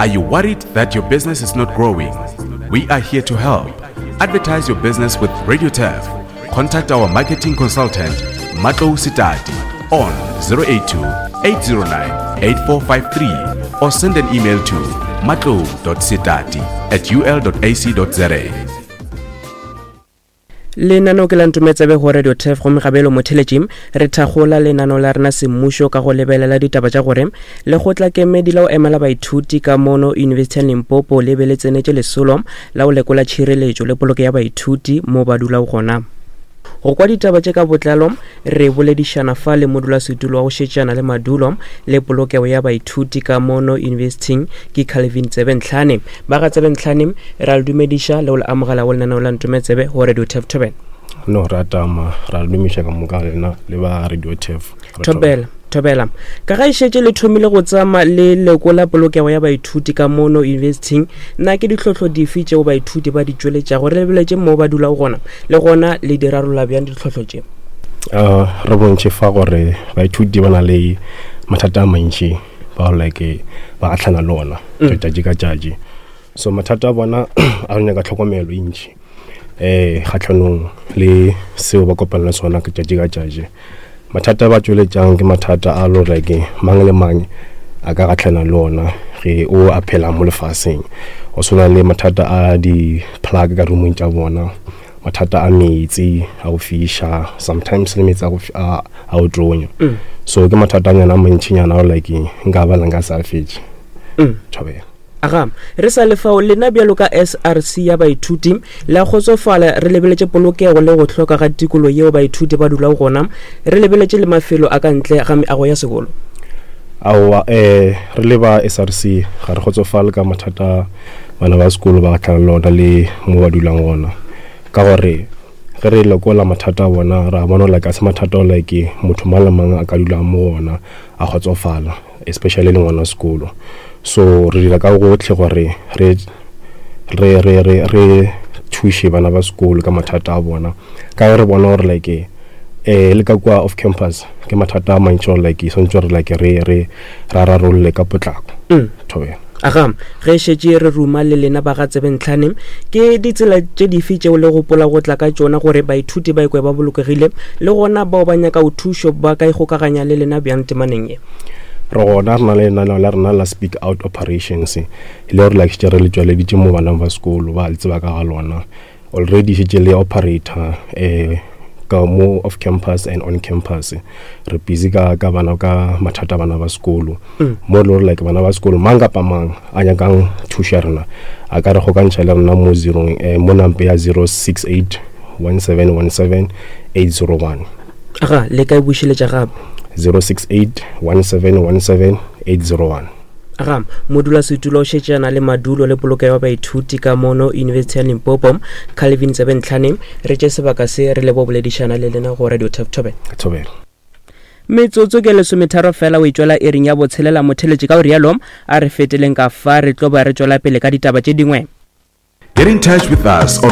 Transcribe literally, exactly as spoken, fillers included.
Are you worried that your business is not growing? We are here to help. Advertise your business with Radio Turf. Contact our marketing consultant, Matlo Sitati, on zero eight two, eight zero nine, eight four five three or send an email to matlo dot sitati at u l dot a c dot z a. Lenaneo ke la Ntometsebe go Radio Turf, gomme gabelo motheletši re thakgola lenaneo la rena semmušo ka go lebelela ditaba tša gore lekgotlakemedi la go emela baithuti ka mono University ya Limpopo le be le tsenetše lesolo la go lekola tšhireletšo le poloko ya baithuti mo ba dulago gona. Go kwa ditaba tše ka botlalo re boledišana fa le modulasetulo wa go šetšana le madulo le polokego ya baithuti ka mono University ke Calvin Tsebentlhane. Ba ga Tsebentlhane ra le dumediša le go le amogela go lenaneo la Ntometsebe go Radio Turf Thobela. No, ra tama, ra le dumiša ka moka lena le ba Radio Turf. Thobela, Thobela. Ka ga e šetše le thomile go tsama le lekola polokego ya baithuti ka mono university, na ke ditlhohlo dife tšeo baithuti ba di tšweletšago re lebeletše mo ba dulago gona, le gona le di rarolla bjang ditlhohlo tše? Uh, re bontšhe fa gore baithuti ba na le mathata a mantši ba like ba gahlana le ona Mm. tšatši ka tšatši. So mathata a bona a re nyaka tlhokomelo e ntši eh kgatlhanong le seo ba kopana le sona ka tšatši ka tšatši. Mathata a ba tšweletšang ke mathata a lo like mang le mang a ka gahlana le ona ge o a phela mo lefaseng. Go swana le mathata a di-plug ka roomong tša bona, mathata a metsi a go fiša, sometimes le metsi a go fi-, a, a go tonya. Mm. So ke mathata a nyana a mantšinyana ao like nka ba nka sa fetše. Mm. Thobela. Aga, re sa le fao lena bjalo ka S R C ya baithuti la kgotsofala re lebeletše polokego le go hloka ga tikologo yeo baithuti ba dulago gona, re lebeletše le mafelo a ka ntle ga meago ya sekolo. Aowa, eh, re le ba S R C ga re kgotsofale ka mathata bana ba sekolo ba gahlana le ona le mo ba dulang gona, ka gore ge re lekola mathata a bona ra bona like a se mathata ao like motho mang le mang a ka dulang mo gona a kgotsofala, especially le ngwana sekolo. So re dira ka gotlhe gore re, re, re, re, re thuše bana ba sekolo ka mathata a bona, ka ge re bona gore like, eh, le ka kua off campus ke mathata a mantši gore like swantse gore like re, re ra rarolle ka potlako. Mm. Thobela. Aga, ge šetše re ruma le lena ba ga Tsebentlhane, ke ditsela tše dife tšeo le gopola go tla ka tšona gore baithuti ba ikwe ba bolokegile, le gona bao ba nyaka go thušo ba ka ikgokaganya le lena bjang temaneng ye? Re gona re na le lenaneo la rena la Speak Out Operations, e le gore like šetše re le tšweleditše mo baneng ba sekolo ba le tseba ka ga lona. Already šetše le operator, eh, ka mo off campus and on campus. Re busy ka, ka bana, ka mathata a bana ba sekolo. Mm. Mo e le gore like bana ba sekolo mang kapa mang a nyakang thušo ya rena a ka re kgokantšha le rena mo zero, eh, mo nampe ya zero six eight one seven one seven eight zero one. Aga, le ka e bušeletša gape? zero six eight one seven one seven eight zero one. Aga, modulasetulo o šetšana le madulo le polokego ya baithuti ka mono University ya Limpopo, Calvin Tsebentlhane, re tše sebaka se re lebo boledišana le lena go Radio Turf Thobela. Thobela. Metsotso ke lesometharo fela o e tšwela iring ya botshelela motheletši, ka o rialo a re feteleng ka fa re tlo ba re tšwela pele ka ditaba tše dingwe. Get in touch with us on